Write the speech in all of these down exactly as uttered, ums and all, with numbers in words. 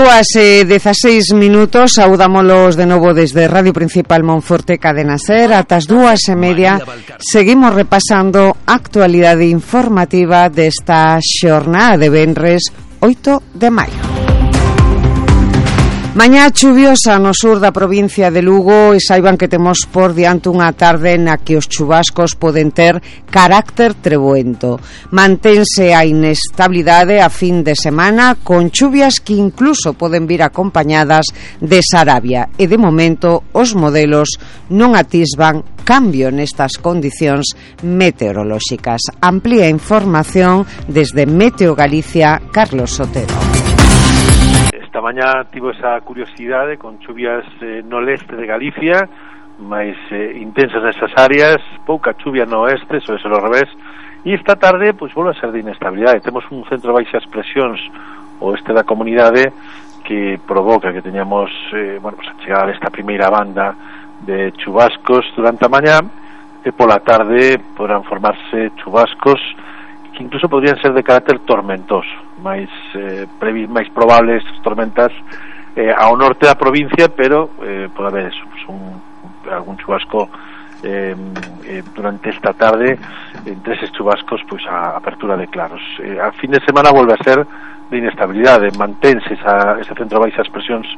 dúas e dezaseis minutos, saudámolos de novo desde Radio Principal Monforte Cadena Ser. Ata as dúas e media seguimos repasando a actualidade informativa desta xornada de venres oito de maio. Mañá chuviosa no sur da provincia de Lugo e saiban que temos por diante unha tarde na que os chubascos poden ter carácter treboento. Mantense a inestabilidade a fin de semana con chuvias que incluso poden vir acompañadas de sarabia e de momento os modelos non atisban cambio nestas condicións meteorolóxicas. Amplía información desde Meteo Galicia, Carlos Sotero. Esta mañá tivo esa curiosidade con chuvias eh, no leste de Galicia, máis eh, intensas nesas áreas, pouca chuvia no oeste, sobre ser ao revés, e esta tarde pois volve a ser de inestabilidade. Temos un centro de baixas presións oeste da comunidade que provoca que teñamos eh, bueno, pues a chegada desta primeira banda de chubascos durante a mañá, e pola tarde poderán formarse chubascos que incluso podrían ser de carácter tormentoso, máis eh, previ, máis probables tormentas eh, ao norte da provincia, pero eh, pode haber eso, pues un, algún chubasco eh, eh, durante esta tarde, entre eses chubascos pois a apertura de claros. Eh, a fin de semana volve a ser de inestabilidade, mantense esa, ese centro de baixas presións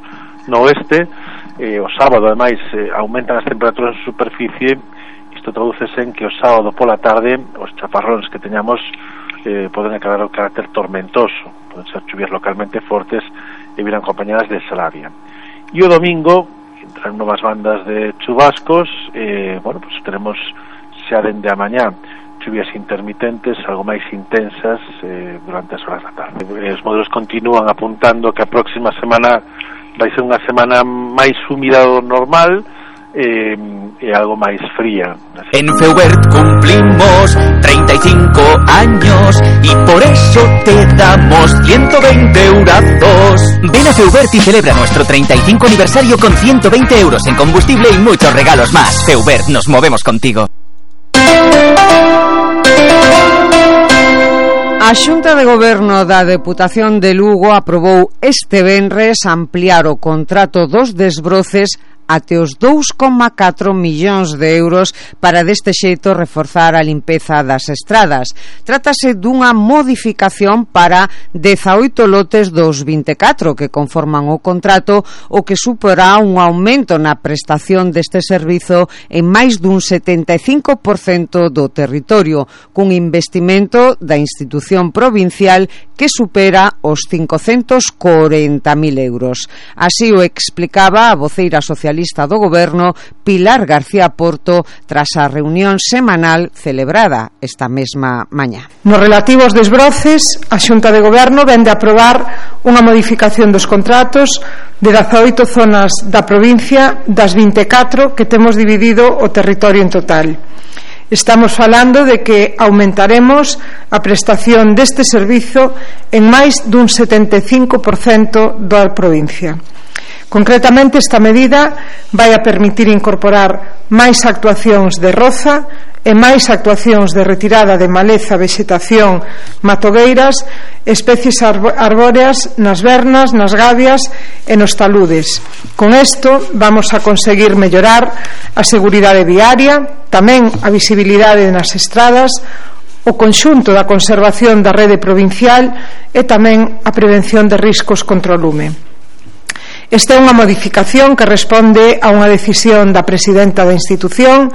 no oeste, eh, o sábado ademais eh, aumentan as temperaturas en superficie. Isto tradúcese en que o sábado pola tarde os chaparróns que teñamos eh, poden acabar o carácter tormentoso, poden ser chuvias localmente fortes e virán acompañadas de sarabia. E o domingo entran novas bandas de chubascos, eh, bueno, pues tenemos xa dende a mañá chuvias intermitentes, algo máis intensas eh, durante as horas da tarde. Os modelos continúan apuntando que a próxima semana vai ser unha semana máis húmida do normal, Eh, e algo máis fría. Así. En Feubert cumplimos treinta y cinco años y por eso te damos ciento veinte eurazos. Ven a Feubert y celebra nuestro treinta y cinco aniversario con ciento veinte euros en combustible y muchos regalos más. Feubert, nos movemos contigo. A Xunta de Goberno da Deputación de Lugo aprobou este venres ampliar o contrato dos desbroces até os dous coma catro millóns de euros para deste xeito reforzar a limpeza das estradas. Trátase dunha modificación para dezaoito lotes dos vinte e catro que conforman o contrato, o que suporá un aumento na prestación deste servizo en máis dun setenta e cinco por cento do territorio, cun investimento da institución provincial que supera os cincocentos corenta mil euros. Así o explicaba a voceira socialista do Goberno, Pilar García Porto, tras a reunión semanal celebrada esta mesma mañá. Nos relativo aos desbroces, a Xunta de Goberno vende a aprobar unha modificación dos contratos de dezaoito zonas da provincia das vinte e catro que temos dividido o territorio en total. Estamos falando de que aumentaremos a prestación deste servizo en máis dun setenta e cinco por cento da provincia. Concretamente, esta medida vai a permitir incorporar máis actuacións de roza e máis actuacións de retirada de maleza, vexetación, matogueiras, especies arbóreas nas vernas, nas gabias e nos taludes. Con isto vamos a conseguir mellorar a seguridade viaria, tamén a visibilidade nas estradas, o conxunto da conservación da rede provincial e tamén a prevención de riscos contra o lume. Esta é unha modificación que responde a unha decisión da presidenta da institución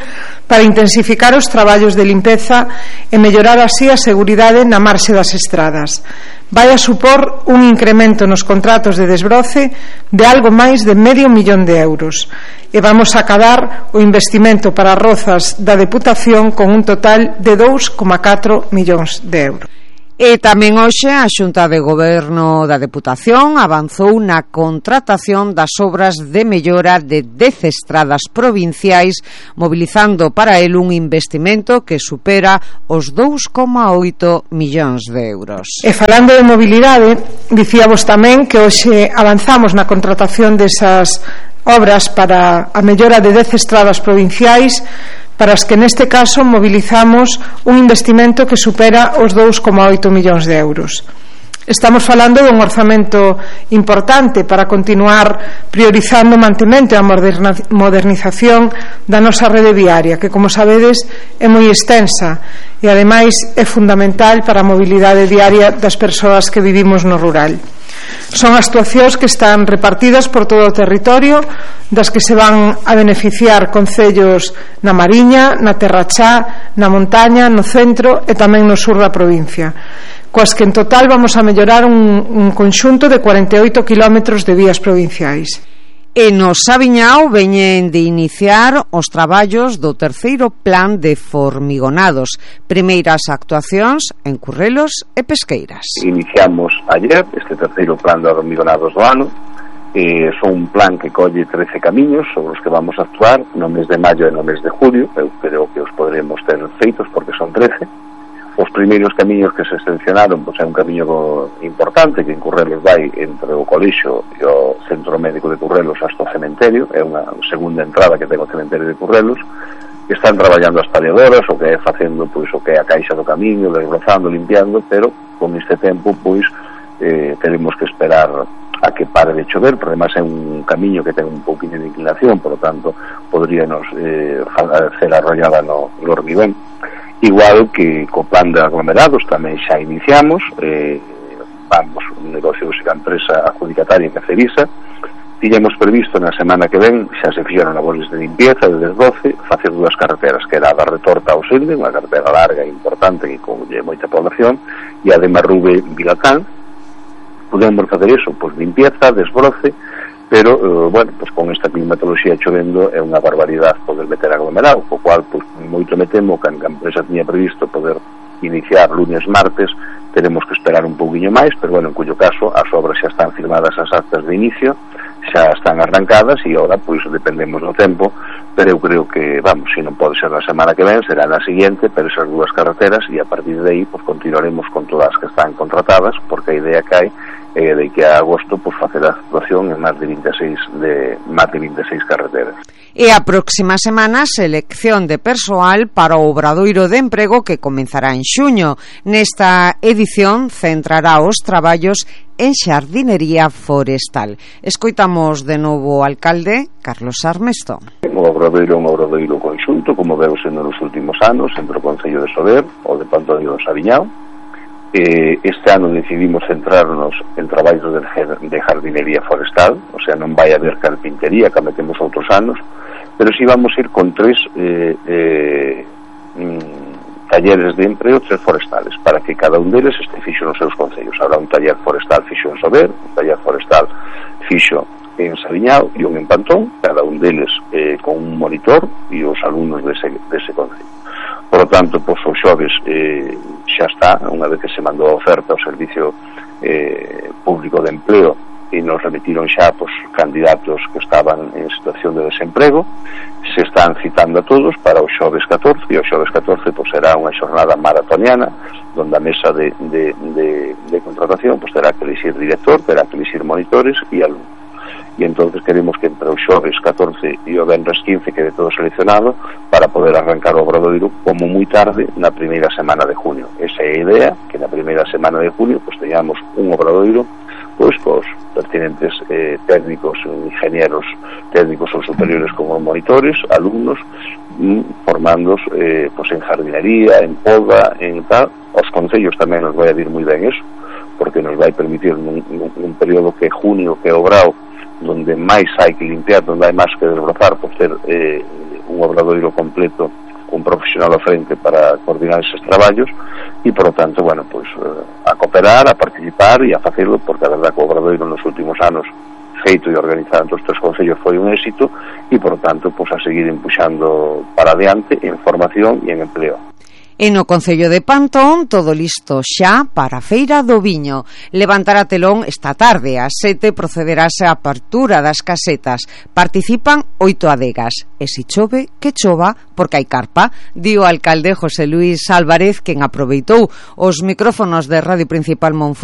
para intensificar os traballos de limpeza e mellorar así a seguridade na marxe das estradas. Vai a supor un incremento nos contratos de desbroce de algo máis de medio millón de euros e vamos a acadar o investimento para rozas da Deputación con un total de dous coma catro millóns de euros. E tamén hoxe a Xunta de Goberno da Deputación avanzou na contratación das obras de mellora de dez estradas provinciais, mobilizando para el un investimento que supera os dous coma oito millóns de euros. E falando de mobilidade, dicíamos tamén que hoxe avanzamos na contratación desas obras para a mellora de dez estradas provinciais, para as que neste caso mobilizamos un investimento que supera os dous coma oito millóns de euros. Estamos falando dun orzamento importante para continuar priorizando o mantemento e a modernización da nosa rede viaria, que, como sabedes, é moi extensa e, ademais, é fundamental para a mobilidade diaria das persoas que vivimos no rural. Son actuacións que están repartidas por todo o territorio, das que se van a beneficiar concellos na Mariña, na Terra Chá, na montaña, no centro e tamén no sur da provincia, coas que en total vamos a mellorar un, un conxunto de cuarenta e oito kilómetros de vías provinciais. E no Saviñao veñen de iniciar os traballos do terceiro plan de formigonados, primeiras actuacións en Currelos e Pesqueiras. Iniciamos ayer este terceiro plan de formigonados do ano. Eh, son un plan que colle trece camiños sobre os que vamos a actuar no mes de maio e no mes de julio. Eu creo que os podremos ter feitos porque son trece. Os primeiros camiños que se seleccionaron, pois é un camiño importante que en Currelos vai entre o colexio e o centro médico de Currelos hasta o cementerio. É unha segunda entrada que ten o cementerio de Currelos. Están traballando as paliadoras, o que é facendo pois o que é a caixa do camiño, desbrozando, limpiando, pero con este tempo pois eh, tenemos que esperar a que pare de chover, porque además é un camiño que ten un pouquinho de inclinación, por lo tanto podríanos eh, hacer arrollada no, no hormigón. Igual que co plan de aglomerados tamén xa iniciamos, eh, vamos, un negocio de empresa adjudicataria que Cerisa. Tiñamos previsto na semana que ven, xa se fixeron labores de limpieza de desbroce, facer dúas carreteras, que era a da Retorta ao Selde, unha carretera larga e importante que colle moita población, e a de Marrube Vilatán. Podemos facer iso, pois limpieza, desbroce, pero, eh, bueno, pues con esta climatoloxía chovendo é unha barbaridade poder meter aglomerado, co cual, pues, moito me temo que a empresa tiña previsto poder iniciar lunes, martes, teremos que esperar un pouquinho máis, pero, bueno, en cuyo caso, as obras xa están firmadas as actas de inicio, xa están arrancadas, e agora, pois, dependemos do tempo, pero eu creo que, vamos, se non pode ser na semana que ven, será na seguinte, pero esas dúas carreteras, e a partir de aí, pues, continuaremos con todas as que están contratadas, porque a idea que hai é de que a agosto pues, facer a actuación en máis de vinte e seis de máis de vinte e seis carreteras. E a próxima semana selección de persoal para o Obradoiro de Emprego que comenzará en xuño. Nesta edición centrará os traballos en xardinería forestal. Escoitamos de novo o alcalde Carlos Armesto. O Obradoiro é un obradoiro conxunto, como veu sendo nos últimos anos, entre o Concello de Sober, o de Pantoño do Saviñao. Eh, este ano decidimos centrarnos en traballos de, de jardinería forestal, o sea, non vai haber carpintería que metemos outros anos, pero si vamos a ir con tres eh, eh, mm, talleres de emprego, tres forestales, para que cada un deles este fixo nos seus concellos. Habrá un taller forestal fixo en Sober, un taller forestal fixo en Saviñao e un en Pantón, cada un deles eh, con un monitor e os alumnos dese, dese concello. Por lo tanto, pois, os xoves eh, xa está, unha vez que se mandou a oferta ao Servicio eh, Público de Empleo e nos remitiron xa pois, candidatos que estaban en situación de desemprego, se están citando a todos para o xoves catorce, e o xoves catorce pois, será unha xornada maratoniana, donde a mesa de, de, de, de contratación pois, terá que elixir director, terá que elixir monitores e alumnos. E entonces queremos que entre o xoves catorce e o venres quince quede todo seleccionado para poder arrancar o Obradoiro como moi tarde na primeira semana de junio. Esa é a idea, que na primeira semana de junio pues, teñamos un Obradoiro pois, cos pertinentes eh, técnicos, ingenieros técnicos ou superiores como monitores, alumnos, mm, formandos eh, pues, en jardinería, en poda, en tal. Os concellos tamén nos vai a vir moi ben eso, porque nos vai permitir nun, nun, nun período que é junio, que é obrao, donde máis hai que limpiar, donde hai máis que desbrozar, por ter eh, un obradoiro completo, un profesional ao frente para coordinar eses traballos, e, por lo tanto, bueno, pues, eh, a cooperar, a participar e a facelo, porque a verdad que o obradoiro nos últimos anos feito e organizado entre os tres concellos foi un éxito, e, por lo tanto, pues, a seguir empuxando para adiante en formación e en empleo. E no Concello de Pantón, todo listo xa para a Feira do Viño. Levantará telón esta tarde, ás sete procederase a apertura das casetas. Participan oito adegas. E se chove, que chova, porque hai carpa, di o alcalde José Luis Álvarez, quen aproveitou os micrófonos de Radio Principal Monforte